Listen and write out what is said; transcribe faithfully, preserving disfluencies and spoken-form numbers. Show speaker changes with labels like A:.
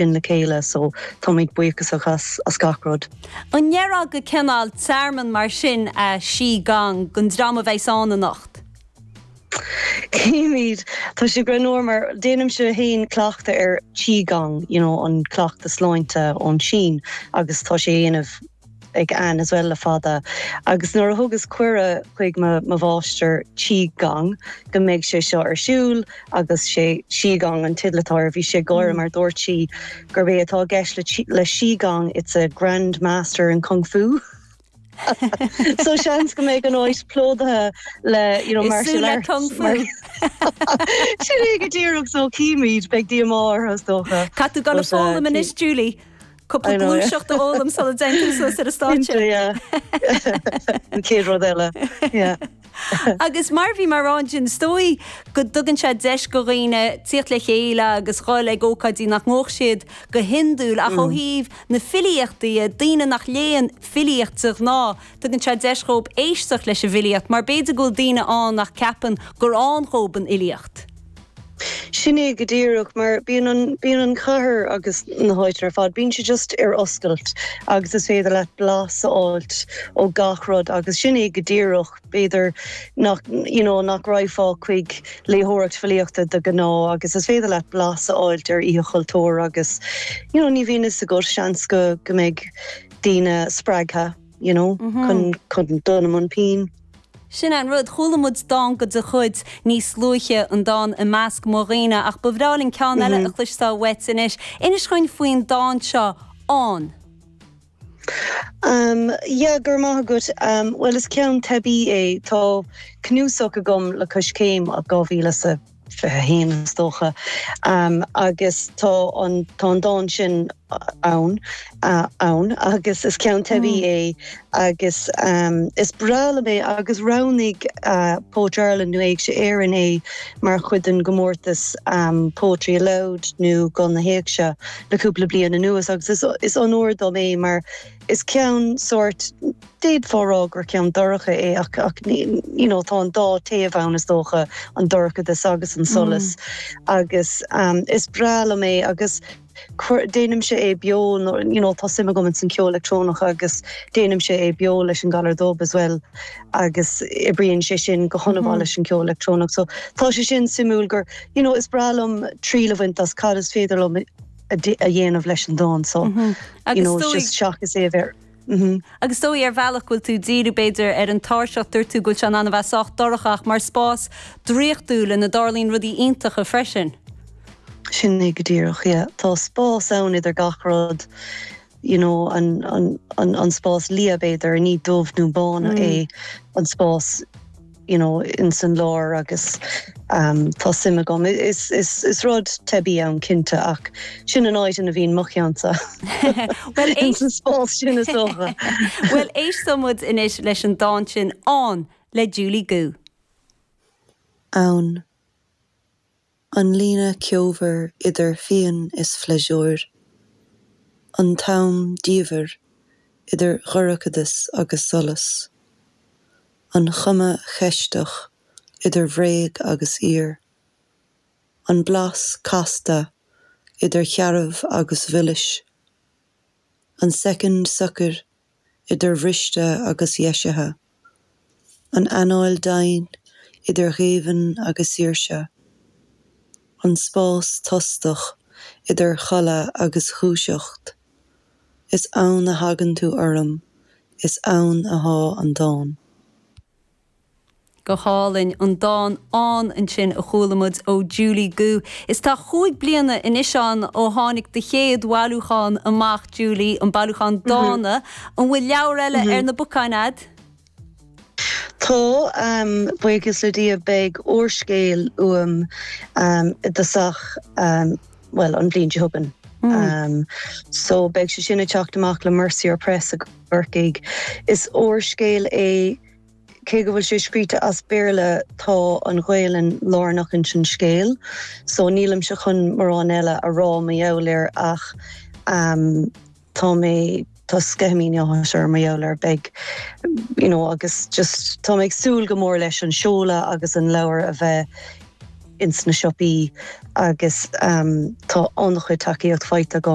A: sin le chéile so táimid buíochasach as as gach rud.
B: An ndéarfá gur cineál tearmann mar sin é Qi Gong don dream a bheas ann anocht.
A: Címid Tá sé greannmhar mar déanaimse féin cleachtadh ar Qigong you know, an cleachtadh sláinte ón Sín agus tá sé déanamh ag Anne as well le fada. Agus nuair a thugas cuireadh chuig mo mháistir Qigong go mbeidh sé seo ar siúl agus sé Qigong an teideal atá air bhí sé gáire mar dúirt sí gurb é atá i gceist le, le Qigong it's a grandmaster in kung fu. so seans go mbeidh an áit plódaithe le you know, martial arts
B: kung fu.
A: Sin é go díreach so címid beidh díomá is dócha.
B: Caithfidh tú gabháil ag foghlaim anois Julie. Cúpla gluaiseacht a fhoghlaim sula dtéann tú suas ar an stáitse.
A: An chéad rud eile.
B: Agus mar bhí mar an sin is dóigh go dtugann sé deis do dhaoine tíocht le chéile agus dhul ag ócáidí nach ngabhfadh siad go hiondúil ach ó mm. thaobh na filíochta daoine nach léann filíocht de ghnáth, tugann sé deis dóibh éisteacht leis an bhfilíocht, mar b'fhéidir go bhfuil daoine ann nach gceapann gur ann dóibh an fhilíocht.
A: Sin é go díreach mar bíonn an bíonn an chathair agus na háit ar fad, bíonn sé just ar oscailt agus is féidir leat blas a fháilt ó gach rud agus sin é go díreach b'fhéidir nach you know, nach rachfá chuig léitheoireacht filíochta de ghnáth agus is féidir leat blas a fháilt ar oíche chultúir agus you know, ní bhíonn a fhios agat seans go go mbeidh daoine spreagtha you know, mm -hmm. chun chun dul i mbun pinn.
B: Sin an rud chuala muid dán de do chuid níos luaithe an dán i measc mo dhaoine ach ba bhreá linn ceann eile a chloisteáil uait anois. Inis dúinn faoin dán seo ann.
A: Um, yeah, gur maith agat um, well is ceann teibí é tá cnuasach agam le Coiscéim a dhá mhíle sa fiche haon is dócha um, agus tá an tá an dán sin ann uh, ann agus is ceann teibí mm. é agus um, is breá liom é agus roghnaigh uh, Poetry Ireland nó Éigse Éireann é mar chuid den gcomórtas um, Poetry Aloud nó Guth na hÉigse le cúpla bliain anuas agus is, is onóir dom é mar is ceann sórt d'fhéadfá rá gur ceann dorcha é ach ach you know, tá an dá taobh ann is dócha an dorchadas agus an solas mm. agus um, is breá liom é agus déanaimse é beo you know, tá suim agam san ceol leictreonach agus déanaimse é beo leis an Galar Dubh as well agus oibríonn sé sin go han-mhaith mm -hmm. leis an ceol leictreonach so tá sé sin suimiúil gur you know, is breá liom triail a bhaint as cad is féidir liom a dhéanamh leis an dán so mm -hmm. you know, just seachas é bheith
B: Mm -hmm. Agus dóigh ar bhealach bhfuil tú díriú b'fhéidir ar an tairseach dúirt tú go bhfuil sé an bheith sách dorcha ach mar spás draíochtúil ina dtarlaíonn rudaí iontacha freisin.
A: Sin é go díreach yeah. Tá spás ann idir gach rud you know, an, an, an, an spás liath b'fhéidir ní dubh nó bán mm. é an spás you know, in san lár agus um, tá suim agam is, is, is rud teibí ann cinnte ach sin an áit ina bhíonn mo cheannsa
B: Well
A: an spás sin is dócha.
B: Well éistfidh muid anois leis an dán sin ann le Julie Gu.
A: Ann. An líne ceomhar idir phian is phléisiúr. An t-am diamhair idir dhorchadas agus solas. An chuma cheisteach idir bhréag agus fhíor. An blas casta idir shearbh agus mhilis. An soicind socair idir bhriste agus dheisithe. An anáil domhain idir ghéibheann agus saoirse. An spás tostach idir chodladh agus dhúiseacht. Is ann a thagann tú orm, is ann atá an dán.
B: Go hálainn an dán ann ansin a chuala muid ó Julie Gu. Is tá cúig bliana anois ann ó tháinig do chéad bhailiúchán amach Julie an bailiúchán dánta an bhfuil leabhar eile ar na bacáin agat?
A: Tá um, buíochas le Dia beidh úrscéal uaim um, i dtosach um, well an bhliain seo chugainn. Mm. Um, so beidh sé sin ag teacht amach le Mercier Press i gCorcaigh. Is úrscéal é cé go bhfuil sé scríte as Béarla tá an Ghaelainn lárnach in sin scéal, so nílimse chun mórán eile a rá mar gheall air ach um, tá mé tá sceitimíní áthais orm mar gheall air beidh you know, agus just tá mé ag súil go mór leis an seoladh agus an leabhar a bheith ins na siopaí agus um, tá an-chuid tacaíocht faighte agam.